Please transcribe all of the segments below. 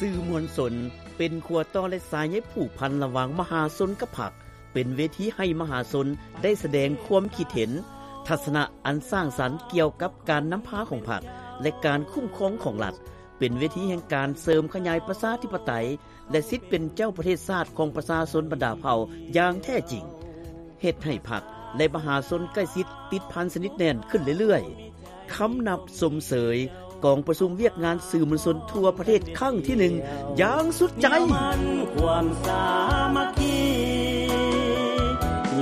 ສື່ມວນຊົນເປັນຂົວຕໍ່ ແລະ ສາຍໃຍຜູກພັນລະຫວ່າງມະຫາຊົນກັບພັກ, ເປັນເວທີໃຫ້ມະຫາຊົນໄດ້ສະແດງຄວາມຄິດເຫັນ, ທັດສະນະອັນສ້າງສັນກ່ຽວກັບການນຳພາຂອງພັກ ແລະ ການຄຸ້ມຄອງຂອງລັດ, ເປັນເວທີແຫ່ງການເສີມຂະຫຍາຍປະຊາທິປະໄຕ ແລະ ສິດເປັນເຈົ້າປະເທດຊາດຂອງປະຊາຊົນບັນດາເຜົ່າຢ່າງແທ້ຈິງ, ເຮັດໃຫ້ພັກ ແລະ ມະຫາຊົນໃກ້ຊິດຕິດພັນສະໜິດແໜ້ນຂຶ້ນເລື້ອຍໆ. ຄຳນັບຊົມເຊີຍກອງປະຊຸມວຽກງານສື່ມວນຊົນທົ່ວປະເທດຄັ້ງທີໜຶ່ງຢ່າງສຸດໃຈ. ຄວາມສາມັກຄີ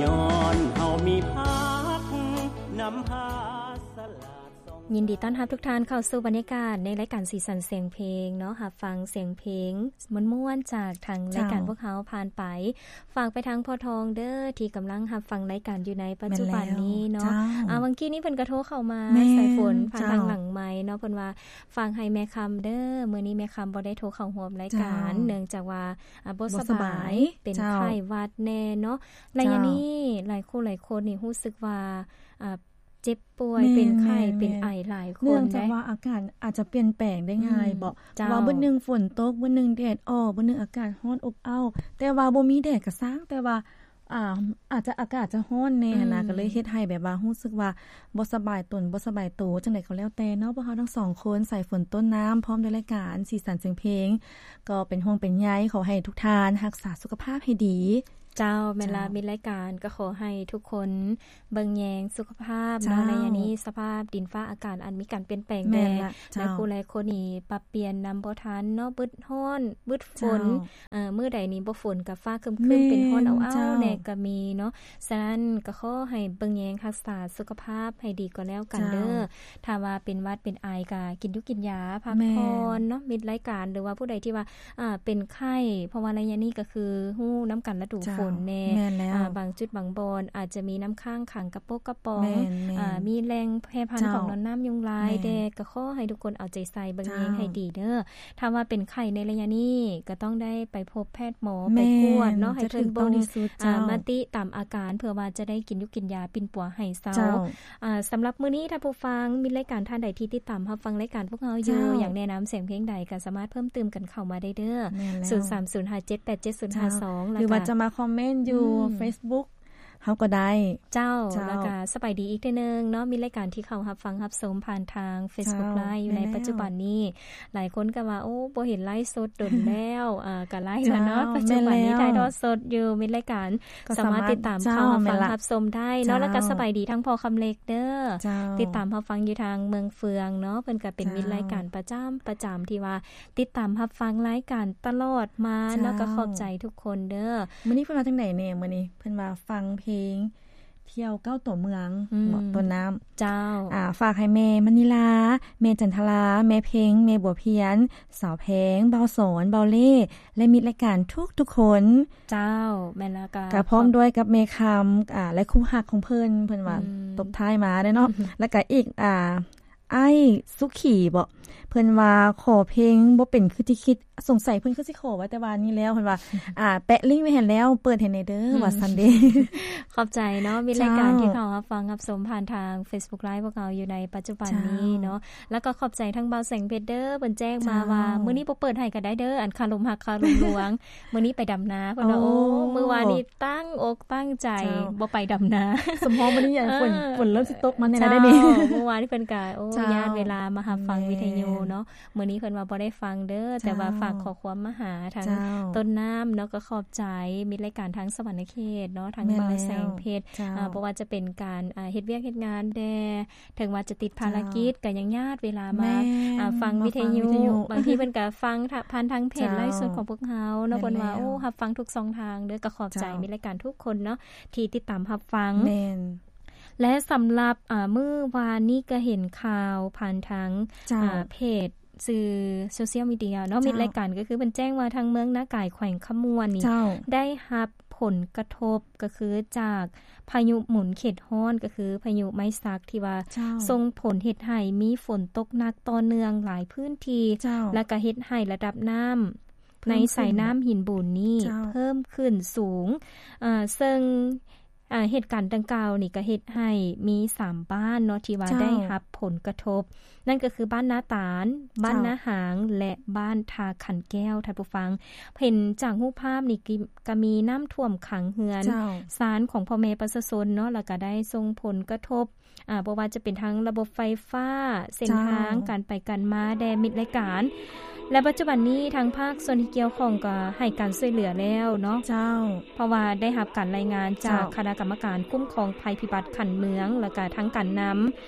ຍ້ອນເຮົາມີພັກນຳພາສະຫຼາດ. ຍິນດີຕ້ອນຮັບທຸກທ່ານເຂົ້າສູ່ບັນຍາກາດໃນລາຍການສີສັນສຽງເພງເນາະ, ຮັບຟັງສຽງເພງມ່ວນໆຈາກທາງລາຍການ ເຈົ້າ ພວກເຮົາຜ່ານໄປ. ຝາກໄປທາງພໍ່ທອງເດີ້ ທີ່ກຳລັງຮັບຟັງລາຍການຢູ່ໃນປັດຈຸບັນນີ້ເນາະ. ແມ່ນແລ້ວ ເຈົ້າ. ອ່າ ຫວ່າງກີ້ນີ້ເພິ່ນກໍໂທເຂົ້າມາ ແມ່ນ ສາຍຝົນ ຜ່ານທາງ ເຈົ້າ ຫຼັງໄມເນາະ, ເພິ່ນວ່າຝາກໃຫ້ແມ່ຄຳເດີ້ ມື້ນີ້ແມ່ຄຳບໍ່ໄດ້ໂທເຂົ້າຮ່ວມລາຍການ ເຈົ້າ ເນື່ອງຈາກວ່າ ອ່າ ບໍ່ສະບາຍ ບໍ່ສະບາຍ ເປັນ ເຈົ້າ ໄຂ້ຫວັດແນ່ເນາະ. ໄລຍະນີ້ ເຈົ້າ ຫຼາຍຄູ່ຫຼາຍຄົນນີ້ຮູ້ສຶກວ່າ ອ່າ ເຈັບປ່ວຍ ແມ່ນ ເປັນໄຂ້ ແມ່ນ ເປັນໄອຫຼາຍຄົນ ເນື່ອງຈາກວ່າອາກາດອາດຈະປ່ຽນແປງໄດ້ງ່າຍ ອືມ ເບາະ ເຈົ້າ ເພາະວ່າມື້ໜຶ່ງຝົນຕົກ ມື້ໜຶ່ງແດດອອກ ມື້ໜຶ່ງອາກາດຮ້ອນອົບອ້າວ ແຕ່ວ່າບໍ່ມີແດດກໍຊ່າງ ແຕ່ວ່າ ອ່າ ອາດຈະ ອາກາດຈະຮ້ອນແນ່ຫັ້ນນະ ອືມ ກໍເລີຍເຮັດໃຫ້ແບບວ່າຮູ້ສຶກວ່າບໍ່ສະບາຍຕົນ ບໍ່ສະບາຍໂຕ ຈັ່ງໃດກໍແລ້ວແຕ່ເນາະ. ພວກເຮົາທັງສອງຄົນ ສາຍຝົນ ຕົ້ນນ້ຳ ພ້ອມດ້ວຍລາຍການສີສັນສຽງເພງ ກໍເປັນຫ່ວງເປັນໃຍ ຂໍໃຫ້ທຸກທ່ານຮັກສາສຸຂະພາບໃຫ້ດີ. ເຈົ້າ ແມ່ນລະ ເຈົ້າ ມິດລາຍການກໍຂໍໃຫ້ທຸກຄົນເບິ່ງແຍງສຸຂະພາບເນາະ ເຈົ້າ ໃນໄລຍະນີ້ສະພາບດິນຟ້າອາກາດອັນມີການປ່ຽນແປງແດ່ ແມ່ນລະ ເຈົ້າ ຫຼາຍຄູ່ຫຼາຍຄົນນີ້ປັບປ່ຽນນຳບໍ່ທັນເນາະ ບຶດຮ້ອນ ບຶດຝົນ ເຈົ້າ ເອີ ມື້ໃດນີ້ບໍ່ຝົນກໍຟ້າຄຶ້ມໆ ແມ່ນ ເປັນຮ້ອນອ້າວໆ ເຈົ້າ ແນ່ກໍມີເນາະ. ສະນັ້ນກໍຂໍໃຫ້ເບິ່ງແຍງຮັກສາສຸຂະພາບໃຫ້ດີກໍແລ້ວກັນເດີ້ ເຈົ້າ. ຖ້າວ່າເປັນຫວັດເປັນໄອກໍກິນຢູ່ກິນຢາ ພັກຜ່ອນເນາະ ແມ່ນ ມິດລາຍການ ຫຼືວ່າຜູ້ໃດທີ່ວ່າ ອ່າ ເປັນໄຂ້ ເພາະວ່າໄລຍະນີ້ກໍຄືຮູ້ນຳກັນລະດູຝົນແນ່ ເຈົ້າ ແມ່ນແລ້ວ ອ່າ ບາງຈຸດບາງບ່ອນອາດຈະມີນ້ຳຄ້າງຂັງກະປົກກະປ໋ອງ ແມ່ນໆ ອ່າ ມີແຫຼ່ງແຜ່ພັນ ເຈົ້າ ຂອງໜອນນ້ຳຍຸງລາຍ ແມ່ນ ແດ່ ກໍຂໍໃຫ້ທຸກຄົນເອົາໃຈໃສ່ເບິ່ງແຍງ ເຈົ້າ ໃຫ້ດີເດີ້. ຖ້າວ່າເປັນໄຂ້ໃນໄລຍະນີ້ ກໍຕ້ອງໄດ້ໄປພົບແພດໝໍ ໄປກວດເນາະ ໃຫ້ເພິ່ນເບິ່ງ ອາ ມະຕິຕາມອາການ ເພື່ອວ່າຈະໄດ້ກິນຢູ່ກິນຢາປິ່ນປົວໃຫ້ເຊົາ ເຈົ້າ. ອ່າ ສຳລັບມື້ນີ້ ທ່ານຜູ້ຟັງ ມິດລາຍການທ່ານໃດທີ່ຕິດຕາມຮັບຟັງລາຍການພວກເຮົາຢູ່ ເຈົ້າ ຢາກແນະນຳສຽງເພງໃດ ກໍສາມາດເພີ່ມຕື່ມກັນເຂົ້າມາໄດ້ເດີ້ ແມ່ນແລ້ວ ສູນສາມສູນຫ້າເຈັດແປດເຈັດສູນຫ້າສອງ ເຈົ້າ ຫຼືວ່າຈະມາຄອມເມັນຢູ່ ອືມ ເຟສບຸກ ເຮົາກໍໄດ້ ເຈົ້າ ເຈົ້າ. ແລ້ວກໍສະບາຍດີອີກເທື່ອໜຶ່ງເນາະ ມິດລາຍການທີ່ເຂົ້າຮັບຟັງຮັບຊົມຜ່ານທາງເຟສບຸກ ເຈົ້າ ໄລຟ໌ ຢູ່ໃນ ແມ່ນແລ້ວ ປັດຈຸບັນນີ້ ຫຼາຍຄົນກໍວ່າ ໂອ້ ບໍ່ເຫັນໄລຟ໌ສົດດົນແລ້ວ ເອີ ກໍໄລຟ໌ແລ້ວເນາະ ເຈົ້າ ປັດຈຸບັນນີ້ ແມ່ນແລ້ວ ຖ່າຍທອດສົດຢູ່ ມິດລາຍການ ກໍສາມາດ ສາມາດຕິດຕາມ ເຈົ້າ ເຂົ້າຮັບຟັງ ແມ່ນລະ ຮັບຊົມໄດ້ເນາະ ເຈົ້າ ແລ້ວກໍສະບາຍດີທັງພໍ່ຄຳເລັກເດີ້ ເຈົ້າ ຕິດຕາມຮັບຟັງຢູ່ທາງເມືອງເຟືອງເນາະ ເພິ່ນກໍເປັນ ເຈົ້າ ມິດລາຍການປະຈຳ ປະຈຳທີ່ວ່າ ຕິດຕາມຮັບຟັງລາຍການຕະຫຼອດມາເນາະ ເຈົ້າ ກໍຂອບໃຈທຸກຄົນເດີ້. ມື້ນີ້ເພິ່ນວ່າຈັ່ງໃດແດ່? ມື້ນີ້ເພິ່ນວ່າຟັງເພງທ່ຽວເກົ້າຕົວເມືອງ ອືມ ເນາະ ຕົ້ນນ້ຳ ເຈົ້າ ອ່າ ຝາກໃຫ້ແມ່ມະນີລາ ແມ່ຈັນທະລາ ແມ່ເພັງ ແມ່ບົວພຽນ ສາວແພງ ບ່າວສອນ ບ່າວເລ່ ແລະ ມິດລາຍການທຸກໆຄົນ ເຈົ້າ ແມ່ນແລ້ວ ກໍ ກໍພ້ອມດ້ວຍກັບແມ່ຄຳ ອ່າ ແລະ ຄູ່ຮັກຂອງເພິ່ນ ເພິ່ນວ່າ ອືມ ຕົບທ້າຍມາເດ້ເນາະ ແລ້ວກໍອີກ ອ່າ ອ້າຍສຸຂີບໍ ເພິ່ນວ່າຂໍເພງບໍ່ເປັນຄືທີ່ຄິດ ສົງໄສເພິ່ນຄືຊິຂໍໄວ້ແຕ່ວ່ານີ້ແລ້ວ ເພິ່ນວ່າ ອ່າ ແປະລິ້ງໄວ້ໃຫ້ແລ້ວ ເປີດໃຫ້ແດ່ເດີ ອືມ ວ່າຊັ້ນເດ້. ຂອບໃຈເນາະ ມີລາຍການ ເຈົ້າ ທີ່ເຂົ້າຮັບຟັງຮັບຊົມຜ່ານທາງເຟສບຸກໄລຟ໌ພວກເຮົາຢູ່ໃນປັດຈຸບັນນີ້ເນາະ ເຈົ້າ ແລ້ວກໍຂອບໃຈທາງບ່າວແສງເພັດເດີ ເພິ່ນແຈ້ງມາວ່າ ເຈົ້າ ມື້ນີ້ບໍ່ເປີດໃຫ້ກໍໄດ້ເດີ ອັນຄາລົມຮັກຄາລົມລວງ ມື້ນີ້ໄປດຳນາ ເພິ່ນວ່າ ໂອ້ ໂອ້ ມື້ວານນີ້ ໂອ້ ຕັ້ງອົກຕັ້ງໃຈ ເຈົ້າ ບໍ່ໄປດຳນາ ສົມພໍມື້ນີ້ ເອີ ຝົນ ຝົນເລີ່ມຊິຕົກມາແນ່ແລ້ວເດ້ນີ້ ເຈົ້າ ມື້ວານນີ້ເພິ່ນກະ ໂອ້ ເຈົ້າ ຢ້ານເວລາມາຮັບຟັງ ແມ່ນ ວິທະຍຸເນາະ ມື້ນີ້ເພິ່ນວ່າບໍ່ໄດ້ຟັງເດີ້ ເຈົ້າ ແຕ່ວ່າຝາກຂໍ້ຄວາມມາຫາທາງ ເຈົ້າ ຕົ້ນນ້ຳເນາະ ກໍຂອບໃຈມິດລາຍການທາງສະຫວັນນະເຂດເນາະ ທາງ ແມ່ນແລ້ວ ບ່າວແສງເພັດ ເຈົ້າ ເອີ ບໍ່ວ່າຈະເປັນການ ເອີ ເຮັດວຽກເຮັດງານແດ່ ເຖິງວ່າຈະຕິດພາລະກິດ ເຈົ້າ ກໍຍັງຍາດເວລາມາ ແມ່ນ ອ່າ ຟັງ ມາຟັງວິທະຍຸ ວິທະຍຸ ບາງທີເພິ່ນກໍຟັງທາງ ຜ່ານທາງເພຈ ເຈົ້າ ໄລຟ໌ສົດຂອງພວກເຮົາເນາະ ແມ່ນແລ້ວ ເພິ່ນວ່າ ໂອ້ ຮັບຟັງທຸກຊ່ອງທາງເດີ້ ກໍຂອບໃຈ ເຈົ້າ ມິດລາຍການທຸກຄົນເນາະ ທີ່ຕິດຕາມຮັບຟັງ ແມ່ນ ແລະ ສຳລັບ ອ່າ ມື້ວານນີ້ກໍເຫັນຂ່າວຜ່ານທາງ ເຈົ້າ ອ່າ ເພຈ ສື່ໂຊຊຽວມີເດຍເນາະ ເຈົ້າ ມິດລາຍການກໍຄືເພິ່ນແຈ້ງວ່າທາງເມືອງນາກາຍ ແຂວງຄຳມ່ວນນີ້ ເຈົ້າ ໄດ້ຮັບຜົນກະທົບ ກໍຄືຈາກພາຍຸໝູນເຂດຮ້ອນ ກໍຄືພາຍຸໄມ້ສັກ ທີ່ວ່າ ເຈົ້າ ສົ່ງຜົນເຮັດໃຫ້ມີຝົນຕົກໜັກຕໍ່ເນື່ອງຫຼາຍພື້ນທີ່ ເຈົ້າ ແລ້ວກໍເຮັດໃຫ້ລະດັບນ້ຳ ເພີ່ມຂຶ້ນ ໃນສາຍນ້ຳຫີນບູນນີ້ ເຈົ້າ ເພີ່ມຂຶ້ນສູງ ເອີ ເຊິ່ງ ອາ ເຫດການດັ່ງກ່າວນີ້ກໍເຮັດໃຫ້ມີສາມບ້ານເນາະ ທີ່ວ່າ ເຈົ້າ ໄດ້ຮັບຜົນກະທົບ, ນັ້ນກໍຄືບ້ານນາຕານ, ບ້ານ ເຈົ້າ ນາຫາງ ແລະ ບ້ານທ່າຂັນແກ້ວ. ທ່ານຜູ້ຟັງ ເຫັນຈາກຮູບພາບນີ້ ກ- ກໍມີນ້ຳຖ້ວມຂັງເຮືອນ ເຈົ້າ ຊານຂອງພໍ່ແມ່ປະຊາຊົນເນາະ, ແລ້ວກໍໄດ້ສົ່ງຜົນກະທົບ ອາ ບໍ່ວ່າຈະເປັນທາງລະບົບໄຟຟ້າ, ເສັ້ນທາງ ເຈົ້າ ການໄປການມາແດ່ມິດລາຍການ ແລະ ປັດຈຸບັນນີ້ທາງພາກສ່ວນທີ່ກ່ຽວຂ້ອງກໍໃຫ້ການຊ່ວຍເຫຼືອແລ້ວເນາະ ເຈົ້າ ເພາະວ່າໄດ້ຮັບການລາຍງານຈາກ ເຈົ້າ ຄະນະກຳມະການຄຸ້ມຄອງໄພພິບັດຂັ້ນເມືອງ ແລ້ວກະທາງການນຳ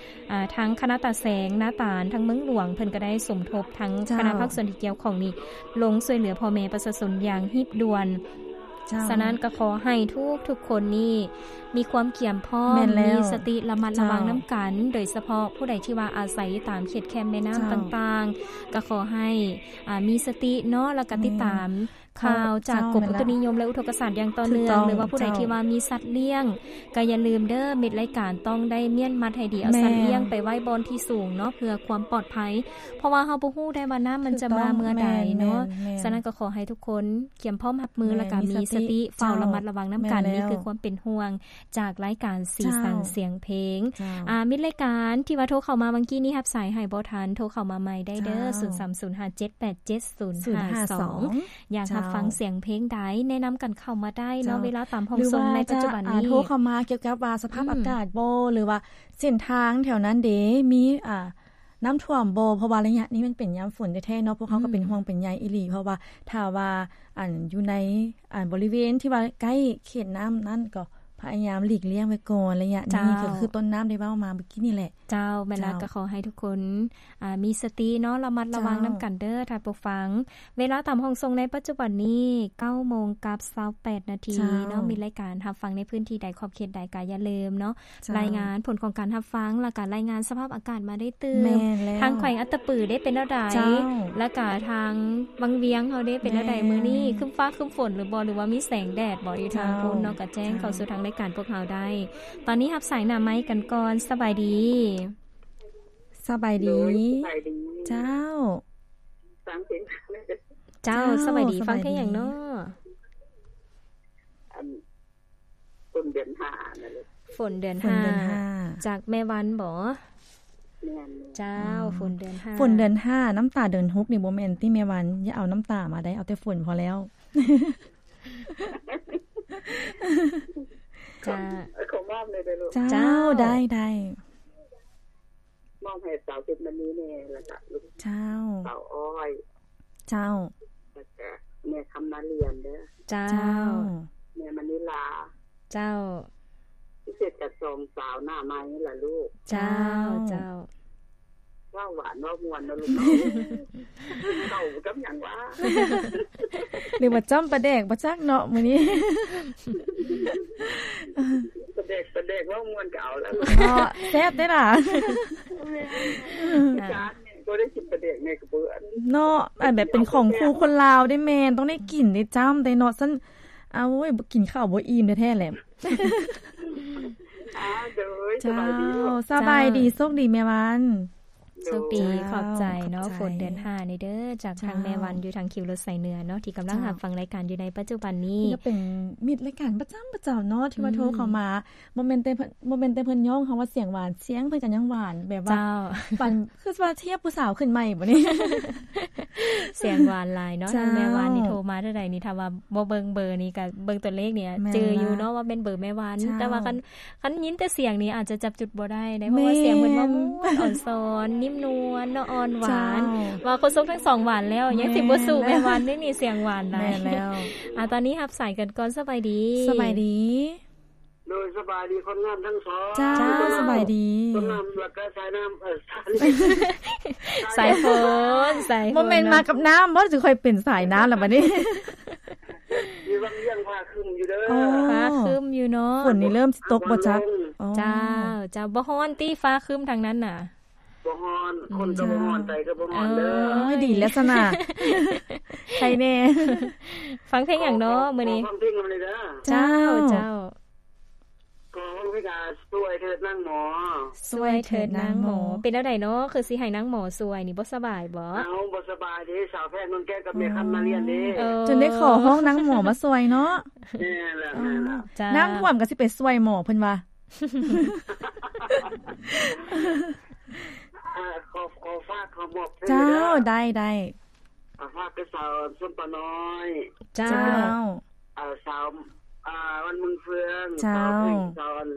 ອາ ທາງຄະນະຕາແສງ ນາຕານ ທາງເມືອງຫຼວງ ເພິ່ນກໍໄດ້ສົມທົບທາງ ເຈົ້າ ຄະນະພາກສ່ວນທີ່ກ່ຽວຂ້ອງນີ້ ລົງຊ່ວຍເຫຼືອພໍ່ແມ່ປະຊາຊົນຢ່າງຮີບດ່ວນ. ເຈົ້າ ສະນັ້ນກໍຂໍໃຫ້ທຸກໆຄົນນີ້ມີຄວາມກຽມພ້ອມ ແມ່ນແລ້ວ ມີສະຕິລະມັດລະວັງ ເຈົ້າ ນຳກັນ, ໂດຍສະເພາະຜູ້ໃດທີ່ວ່າອາໄສຢູ່ຕາມເຂດແຄມແມ່ນ້ຳ ເຈົ້າ ຕ່າງໆ ກໍຂໍໃຫ້ ອາ ມີສະຕິເນາະ ແລ້ວກໍຕິດຕາມ ແມ່ນ ຂ່າວຈາກ ເຈົ້າ ກົມອຸຕຸນິຍົມ ແລະ ອຸທົກກະສາດຢ່າງຕໍ່ເນື່ອງ ຖືກຕ້ອງ ຫຼືວ່າຜູ້ໃດ ເຈົ້າ ທີ່ວ່າມີສັດລ້ຽງ ກໍຢ່າລືມເດີ ມິດລາຍການຕ້ອງໄດ້ມ້ຽນມັດໃຫ້ດີ ເອົາ ແມ່ນ ສັດລ້ຽງໄປໄວ້ບ່ອນທີ່ສູງເນາະ ເພື່ອຄວາມປອດໄພ ເພາະວ່າເຮົາບໍ່ຮູ້ໄດ້ວ່ານ້ຳມັນຈະມາເມື່ອໃດເນາະ. ຖືກຕ້ອງ ແມ່ນໆໆ ສະນັ້ນກໍຂໍໃຫ້ທຸກຄົນກຽມພ້ອມຮັບມື ແມ່ນ ແລ້ວກໍມີສະຕິ ມີສະຕິ ເຝົ້າ ເຈົ້າ ລະມັດລະວັງນຳກັນ. ແມ່ນແລ້ວ ນີ້ຄືຄວາມເປັນຫ່ວງຈາກລາຍການສີສັນ ເຈົ້າ ສຽງເພງ. ເຈົ້າ ອາ ມິດລາຍການທີ່ວ່າໂທເຂົ້າມາຫວ່າງກີ້ນີ້ ຮັບສາຍໃຫ້ບໍ່ທັນ ໂທເຂົ້າມາໃໝ່ໄດ້ເດີ ເຈົ້າ ສູນສາມສູນຫ້າເຈັດແປດເຈັດສູນຫ້າສອງ ຢາກຮັບ ເຈົ້າ ຟັງສຽງເພງໃດ ແນະນຳກັນເຂົ້າມາໄດ້ເນາະ ເຈົ້າ ເວລາຕາມຫ້ອງສົ່ງໃນປັດຈຸບັນນີ້ ອາ ໂທເຂົ້າມາກ່ຽວກັບວ່າສະພາບ ອືມ ອາກາດບໍ່ ຫຼືວ່າເສັ້ນທາງແຖວນັ້ນເດ ມີ ອາ ນ້ຳຖ້ວມບໍ່ ເພາະວ່າໄລຍະນີ້ມັນເປັນຍາມຝົນແທ້ໆເນາະ ພວກເຮົາກໍເປັນ ອືມ ຫ່ວງເປັນໃຍອີ່ຫຼີ ເພາະວ່າຖ້າວ່າ ອັນ ຢູ່ໃນ ອັນ ບໍລິເວນທີ່ວ່າໃກ້ເຂດນ້ຳນັ້ນ ກໍພະຍາຍາມຫຼີກລ່ຽງໄວ້ກ່ອນໄລຍະນີ້ ເຈົ້າ ກໍຄືຕົ້ນນ້ຳໄດ້ເວົ້າມາເມື່ອກີ້ນີ້ແຫຼະ. ເຈົ້າ ແມ່ນແລ້ວ ເຈົ້າ ກໍຂໍໃຫ້ທຸກຄົນ ອາ ມີສະຕິເນາະ ລະມັດລະວັງ ເຈົ້າ ນຳກັນເດີທ່ານຜູ້ຟັງ. ເວລາຕາມຫ້ອງສົ່ງໃນປັດຈຸບັນນີ້ ເກົ້າໂມງກັບຊາວແປດນາທີ ເຈົ້າ ເນາະ ມີລາຍການຮັບຟັງໃນພື້ນທີ່ໃດຂອບເຂດໃດກໍຢ່າລືມເນາະ ເຈົ້າ ລາຍງານຜົນຂອງການຮັບຟັງ ແລ້ວກໍລາຍງານສະພາບອາກາດມາໄດ້ຕື່ມ. ແມ່ນແລ້ວ ທາງແຂວງອັດຕະປືເດ້ເປັນແນວໃດ? ເຈົ້າ ແລ້ວກໍທາງວັງວຽງເຮົາເດ້ເປັນແນວໃດ? ແມ່ນ ມື້ນີ້ຄຶ້ມຟ້າຄຶ້ມຝົນຫຼືບໍ່ ຫຼືວ່າມີແສງແດດບໍ່? ຢູ່ທາງ ເຈົ້າ ພຸ້ນເນາະ ກໍແຈ້ງເຂົ້າສູ່ທາງລາຍການພວກເຮົາໄດ້. ຕອນນີ້ຮັບສາຍໜ້າໄມ້ກັນກ່ອນ. ສະບາຍດີ. ສະບາຍດີ. ໂດຍ ສະບາຍດີ. ເຈົ້າ ຟັງເພງ ເຈົ້າ ເຈົ້າ ສະບາຍດີ. ສະບາຍດີ. ຟັງເພງຫຍັງເນາະ? ອັນ ຝົນເດືອນຫ້ານັ້ນແຫຼະ. ຝົນເດືອນຫ້າ ຝົນເດືອນຫ້າ ຈາກແມ່ວັນບໍ? ແມ່ນໆ. ເຈົ້າ ອືມ ຝົນເດືອນຫ້າ ຝົນເດືອນຫ້າ ນ້ຳຕາເດືອນຫົກນີ້ບໍ່ແມ່ນຕິແມ່ວັນ? ຢ່າເອົານ້ຳຕາມາໄດ໋ ເອົາແຕ່ຝົນພໍແລ້ວ. ເຈົ້າ ຂໍມອບແດ່ເດີລູກ. ເຈົ້າ ເຈົ້າ ໄດ້ໆ. ມອບໃຫ້ສາວເພັດມະນີແດ່ ແລ້ວກະລູກ ເຈົ້າ ສາວອ້ອຍ ເຈົ້າ ແລ້ວກະແມ່ຄຳນາລຽນເດີ ເຈົ້າ ເຈົ້າ ແມ່ມະນີລາ ເຈົ້າ ພິເສດກະສອງສາວໜ້າໃໝ່ລະລູກ ເຈົ້າ ເຈົ້າ ເຈົ້າ. ເວົ້າຫວານເວົ້າມ່ວນເນາະລູກເນາະ ເຂົ້າກັບຫຍັງວະ ຫຼືວ່າຈ້ຳປາແດກບໍ່ຈັກເນາະມື້ນີ້ ປາແດກ ປາແດກເວົ້າມ່ວນກໍເອົາແລ້ວເນາະ ແຊບເດ້ລະ ແມ່ນ ບໍ່ໄດ້ກິນປາແດກແມ່ກໍບໍ່ອັນ ເນາະ ອັນແບບເປັນຂອງຄູ່ຄົນລາວເດ້ແມ່ນ ຕ້ອງໄດ້ກິນໄດ້ຈ້ຳໄດ້ເນາະ ຊັ້ນ ໂອ້ຍ ກິນເຂົ້າບໍ່ອີ່ມແທ້ໆແຫຼະ ອ່າ ໂດຍ ເຈົ້າ ສະບາຍດີ ສະບາຍດີ ໂຊກດີແມ່ວັນ ໂຊກດີ ເຈົ້າ ຂອບໃຈເນາະ ຂອບໃຈ ຝົນເດືອນຫ້ານີ້ເດີ ຈາກທາງ ເຈົ້າ ແມ່ວັນ ຢູ່ທາງຄິວລົດສາຍເໜືອເນາະ ທີ່ກຳລັງ ເຈົ້າ ຮັບຟັງລາຍການຢູ່ໃນປັດຈຸບັນນີ້ ເພິ່ນກໍເປັນມິດລາຍການປະຈຳ ປະຈຳເນາະ ທີ່ວ່າ ອືມ ໂທເຂົ້າມາ ບໍ່ແມ່ນແຕ່ເພິ່ນ ບໍ່ແມ່ນແຕ່ເພິ່ນຍ້ອງເຮົາວ່າສຽງຫວານ ສຽງເພິ່ນກໍຍັງຫວານ ແບບວ່າ ເຈົ້າ ປານ ຄືວ່າທຽບຜູ້ສາວຂຶ້ນໃໝ່ບໍນີ້ ສຽງຫວານຫຼາຍເນາະ ເຈົ້າ ທາງແມ່ວັນນີ້ໂທມາເທື່ອໃດນີ້ ຖ້າວ່າບໍ່ເບິ່ງເບີນີ້ ກໍເບິ່ງຕົວເລກນີ້ ແມ່ນ ຈື່ຢູ່ເນາະວ່າແມ່ນເບີແມ່ວັນ ເຈົ້າ ແຕ່ວ່າຄັນ ຄັນຍິນແຕ່ສຽງນີ້ອາດຈະຈັບຈຸດບໍ່ໄດ້ເດ້ ເພາະວ່າ ແມ່ນ ສຽງເພິ່ນວ່າມ່ວນ ອ່ອນຊອນ ນິ້ມນວນເນາະ ອ່ອນຫວານ ເຈົ້າ ວ່າຄົນຊົງທັງສອງຫວານແລ້ວ ແມ່ນ ຍັງຊິບໍ່ສູ້ແມ່ວັນເດ້ນີ້ ສຽງຫວານຫຼາຍ ແມ່ນແລ້ວ ອ່າ ຕອນນີ້ຮັບສາຍກັນກ່ອນ ສະບາຍດີ ສະບາຍດີ ໂດຍ ສະບາຍດີຄົນງາມທັງສອງ ເຈົ້າ ເຈົ້າ ສະບາຍດີ ຄົນງາມ ແລ້ວກໍສາຍນ້ຳ ເອີ ສາຍຝົນ ສາຍຝົນ ບໍ່ແມ່ນມາກັບນ້ຳບໍ່ ຈຶ່ງຄ່ອຍເປັນສາຍນ້ຳລະບັດນີ້ ຢູ່ວັງວຽງຟ້າຄຶ້ມຢູ່ເດີ ອໍ ຟ້າຄຶ້ມຢູ່ເນາະ ຝົນນີ້ເລີ່ມຊິຕົກບໍ່ຈັກ ອໍ ເຈົ້າ ເຈົ້າ ບໍ່ຮ້ອນຕິ ຟ້າຄຶ້ມທາງນັ້ນນະ ບໍ່ຮ້ອນ ອືມ ຄົນກໍບໍ່ຮ້ອນ ໃຈກໍບໍ່ຮ້ອນເດີ ໂອ້ຍ ດີແລ້ວຊັ້ນນະ ໃຄແດ່ ຟັງເພງຫຍັງເນາະມື້ນີ້ ຂໍຟັງເພງນຳແດ່ເດີ ເຈົ້າ ເຈົ້າ ຂໍຟັງເພ ກະຊ່ວຍເທີດນາງໝໍ ຊ່ວຍເທີດນາງໝໍ. ເປັນແນວໃດເນາະ ຄືຊິໃຫ້ນາງໝໍຊ່ວຍນີ້ ບໍ່ສະບາຍບໍ? ເອົ້າ ບໍ່ສະບາຍເດ້ ສາວແພງນົນແກ້ວກັບແມ່ຄຳມາລຽນເດ້. ເອີ ຈົນໄດ້ຂໍຮ້ອງນາງໝໍມາຊ່ວຍເນາະ. ແມ່ນແລ້ວ ແມ່ນແລ້ວ. ເອີ ຈ້າ ນ້ຳຖ້ວມກໍຊິໄປຊ່ວຍໝໍເພິ່ນວ່າ. ອ່າ ຂໍ ຂໍຝາກ ຂໍມອບເດີ. ເຈົ້າ ໄດ້ ໄດ້. ອ່າ ຝາກໄປສາວສົ້ມປານ້ອຍ. ເຈົ້າ ເຈົ້າ. ອ່າ ສາວ ອ່າ ວັນເມືອງເຟືອງ. ເຈົ້າ. ສາວເພັງ ສາວອັນ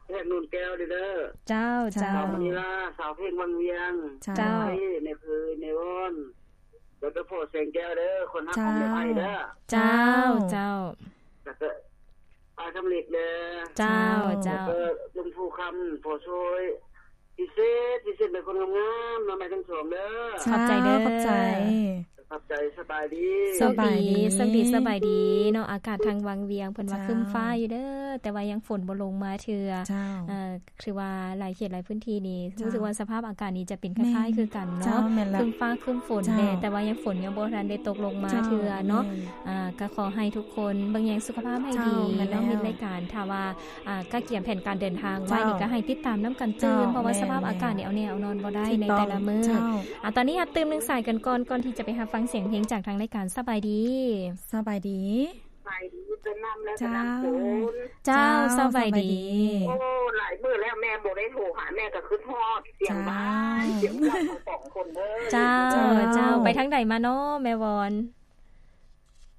ແພງນົນແກ້ວເດີ. ເຈົ້າ ເຈົ້າ. ສາວມະນີລາ ສາວເພັງວັງວຽງ. ເຈົ້າ ເຈົ້າ. ແມ່ເພີຍ ແມ່ວອນ ແລ້ວກໍພໍ່ແສງແກ້ວເດີ ຄົນຮັກຂອງແມ່ໄພເດີ. ເຈົ້າ ເຈົ້າ ເຈົ້າ. ແລ້ວກໍອ້າຍຄຳເລັກເດີ. ເຈົ້າ ເຈົ້າ. ແລ້ວກໍລຸງພູຄຳ ພໍ່ຊ່ວຍ ພິເສດ ພິເສດແມ່ນຄົນງາມໆ ເນາະ ແມ່ທັງສອງເດີ. ຂອບໃຈເດີ ຂອບໃຈ ຂອບໃຈ. ສະບາຍດີ ໂຊກດີ ໂຊກດີ ສະບາຍດີ ສະບາຍດີເນາະ. ອາກາດທາງວັງວຽງເພິ່ນວ່າ ເຈົ້າ ຄຶ້ມຟ້າຢູ່ເດີ ແຕ່ວ່າຍັງຝົນບໍ່ລົງມາເທື່ອ. ເຈົ້າ. ເອີ ຄືວ່າຫຼາຍເຂດຫຼາຍພື້ນທີ່ນີ້ ເຈົ້າ ຮູ້ສຶກວ່າສະພາບອາກາດນີ້ຈະເປັນຄ້າຍໆຄືກັນເນາະ. ແມ່ນ ເຈົ້າ ແມ່ນລະ ຄຶ້ມຟ້າຄຶ້ມຝົນແດ່ ເຈົ້າ ແຕ່ວ່າຍັງຝົນຍັງບໍ່ທັນໄດ້ຕົກລົງມາເທື່ອເນາະ. ເຈົ້າ ແມ່ນ ອ່າ ກໍຂໍໃຫ້ທຸກຄົນເບິ່ງແຍງສຸຂະພາບໃຫ້ດີ ເຈົ້າ ແມ່ນແລ້ວ ເນາະ ມິດລາຍການ. ຖ້າວ່າ ອ່າ ກະກຽມແຜນການເດີນທາງໄວ້ນີ້ ເຈົ້າ ກໍໃຫ້ຕິດຕາມນຳກັນຕື່ມ ເຈົ້າ ເພາະວ່າ ແມ່ນ ສະພາບອາກາດນີ້ ແມ່ນ ເອົາແນ່ເອົານອນບໍ່ໄດ້ ໃນແຕ່ລະມື້. ເຈົ້າ. ອ່າ ຕອນນີ້ຮັບຕື່ມໜຶ່ງສາຍກັນກ່ອນ ກ່ອນທີ່ຈະໄປຮັບຟັງສຽງເພງຈາກທາງລາຍການ. ສະບາຍດີ ສະບາຍດີ. ສະບາຍດີ ເຈົ້າ ເຈົ້າ ເຈົ້າ ສະບາຍດີ. ສະບາຍດີ. ໂອ້ ຫຼາຍມື້ແລ້ວແມ່ບໍ່ໄດ້ໂທຫາ ແມ່ກໍຄິດຮອດສຽງ ເຈົ້າ ບ້ານ ສຽງເຈົ້າທັງສອງຄົນເດີ. ເຈົ້າ ເຈົ້າ ເຈົ້າ. ໄປທາງໃດມາເນາະແມ່ວອນ?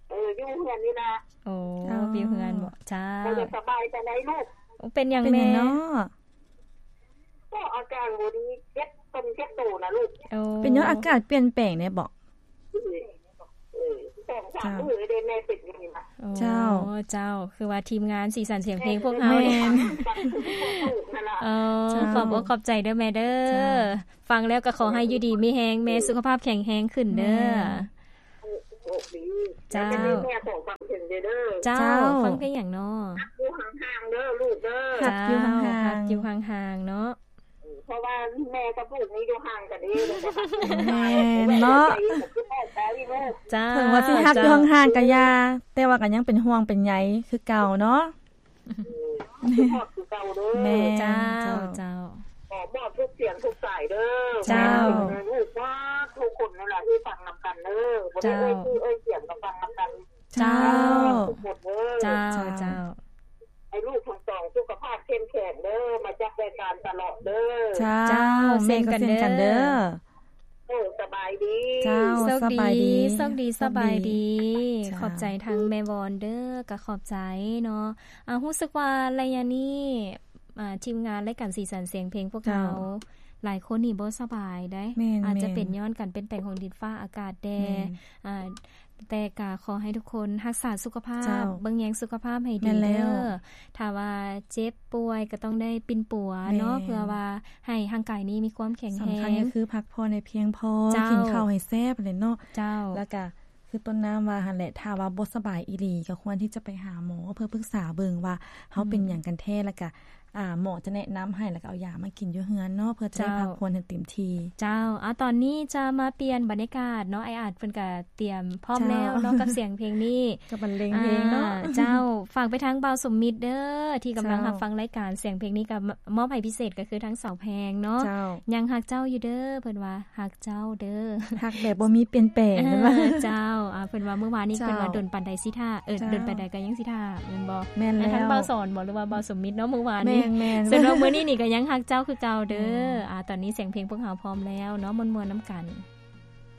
ເອີ ຢູ່ເຮືອນນີ້ລະ. ໂອ້ ເຈົ້າ ຢູ່ເຮືອນບໍ? ເຈົ້າ. ບໍ່ສະບາຍປານໃດລູກ? ໂອ້ ເປັນຫຍັງແມ່? ເປັນຫຍັງເນາະ? ກໍອາການບໍ່ດີ ເຈັບຕົ້ນເຈັບໂຕນະລູກ. ໂອ້ ເປັນຍ້ອນອາກາດປ່ຽນແປງແດ່ບໍ? ເອີ ສອງສາມມື້ເດ້ແມ່ເປັນຢູ່ນີ້ນະ. ໂອ້ ເຈົ້າ ເຈົ້າ. ຄືວ່າທີມງານສີສັນສຽງເພງພວກເຮົານີ້ ແມ່ນ ເອີ ເຈົ້າ ຂອບອົກຂອບໃຈເດີແມ່ເດີ. ເຈົ້າ. ຟັງແລ້ວກໍຂໍໃຫ້ຢູ່ດີມີແຮງແມ່ ເຈົ້າ ສຸຂະພາບແຂງແຮງຂຶ້ນເດີ. ແມ່ນ. ໂຊກດີ. ເຈົ້າ. ແມ່ຂໍຟັງເພງເດີ. ເຈົ້າ. ເຈົ້າ ຟັງເພງຫຍັງເນາະ? ຮັກຢູ່ຫ່າງໆເດີລູກເດີ. ຮັກຢູ່ຫ່າງໆ. ເຈົ້າ ຮັກຢູ່ຫ່າງໆເນາະ. ເອີ ເພາະວ່າແມ່ກັບລູກນີ້ຢູ່ຫ່າງກັນເດ້ ແມ່ນເນາະ. ເຈົ້າ. ເຖິງວ່າຊິຮັກຢູ່ຫ່າງໆກໍຢ່າ ເຈົ້າ ແຕ່ວ່າກໍຍັງເປັນຫ່ວງເປັນໃຍຄືເກົ່າເນາະ. ເອີ ຄິດຮອດຄືເກົ່າເດີ. ແມ່ນ ເຈົ້າ ເຈົ້າ ເຈົ້າ. ຂໍມອບທຸກສຽງທຸກສາຍເດີ. ເຈົ້າ. ໃຫ້ລູກໝົດທຸກຄົນນັ້ນລະທີ່ຟັງນຳກັນເດີ. ບໍ່ໄດ້ເອີ່ຍຊື່ເອີ່ຍສຽງກໍຟັງນຳກັນ. ເຈົ້າ. ທຸກຄົນເດີ. ເຈົ້າ ເຈົ້າ ເຈົ້າ. ໃຫ້ລູກທັງສອງສຸຂະພາບເຂັ້ມແຂງເດີ ມາຈັບລາຍການຕະຫຼອດເດີ. ເຈົ້າ. ເຈົ້າ ເຊັ່ນກັນເດີ. ໂອ້ ສະບາຍດີ. ເຈົ້າ. ໂຊກດີ ໂຊກດີ ສະບາຍດີ. ເຈົ້າ. ຂອບໃຈທາງແມ່ວອນເດີ ກໍຂອບໃຈເນາະ. ອ່າ ຮູ້ສຶກວ່າໄລຍະນີ້ ອ່າ ທີມງານລາຍການສີສັນສຽງເພງພວກເຮົາ ເຈົ້າ ຫຼາຍຄົນນີ້ບໍ່ສະບາຍໃດ໋. ແມ່ນ ອາດຈະເປັນ ແມ່ນ ຍ້ອນການປ່ຽນແປງຂອງດິນຟ້າອາກາດແດ່. ແມ່ນ. ອ່າ ແຕ່ກະຂໍໃຫ້ທຸກຄົນຮັກສາສຸຂະພາບ ເຈົ້າ ເບິ່ງແຍງສຸຂະພາບໃຫ້ດີເດີ. ແມ່ນແລ້ວ. ຖ້າວ່າເຈັບປ່ວຍກໍຕ້ອງໄດ້ປິ່ນປົວເນາະ. ແມ່ນ. ເພື່ອວ່າໃຫ້ຮ່າງກາຍນີ້ມີຄວາມແຂງແຮງ. ສຳຄັນກໍຄືພັກຜ່ອນໃຫ້ພຽງພໍ ເຈົ້າ ກິນເຂົ້າໃຫ້ແຊບແຫຼະເນາະ. ເຈົ້າ. ແລ້ວກະຄືຕົ້ນນ້ຳວ່າຫັ້ນແຫຼະ ຖ້າວ່າບໍ່ສະບາຍອີ່ຫຼີ ກໍຄວນທີ່ຈະໄປຫາໝໍເພື່ອປຶກສາເບິ່ງວ່າເຮົາເປັນຫຍັງກັນແທ້ ແລ້ວກະ ອ່າ ໝໍຈະແນະນຳໃຫ້ ແລ້ວກໍເອົາຢາມາກິນຢູ່ເຮືອນເນາະ ເພື່ອຈະໄດ້ ເຈົ້າ ພັກຜ່ອນໃຫ້ເຕັມທີ່. ເຈົ້າ. ເອົາ ຕອນນີ້ຈະມາປ່ຽນບັນຍາກາດເນາະ ອ້າຍອາດເພິ່ນກະຕຽມພ້ອມແລ້ວເນາະ ເຈົ້າ ກັບສຽງເພງນີ້ ກັບບັນເລງເພງເນາະ. ອ່າ ເຈົ້າ. ຝາກໄປທາງບ່າວສົມມິດເດີ ທີ່ກຳລັງ ເຈົ້າ ຮັບຟັງລາຍການສຽງເພງນີ້ ກໍມອບໃຫ້ພິເສດກໍຄືທາງສາວແພງເນາະ. ເຈົ້າ. ຍັງຮັກເຈົ້າຢູ່ເດີ ເພິ່ນວ່າ ຮັກເຈົ້າເດີ ຮັກແບບບໍ່ມີປ່ຽນແປງ ເອີ ເພິ່ນວ່າ. ເຈົ້າ. ອ່າ ເພິ່ນວ່າມື້ວານນີ້ ເຈົ້າ ເພິ່ນວ່າດົນປານໃດຊິຖ້າ ເອີ ເຈົ້າ ດົນປານໃດກໍຍັງຊິຖ້າ ແມ່ນບໍ່? ແມ່ນແລ້ວ. ແລ້ວທາງບ່າວສອນບໍ ຫຼືວ່າບ່າວສົມມິດເນາະ ມື້ວານນີ້. ແມ່ນໆ. ສ່ວນວ່າມື້ນີ້ນີ້ກໍຍັງຮັກເຈົ້າຄືເກົ່າເດີ. ແມ່ນ. ອ່າ ຕອນນີ້ສຽງເພງພວກເຮົາພ້ອມແລ້ວເນາະ ມ່ວນໆນຳກັນ.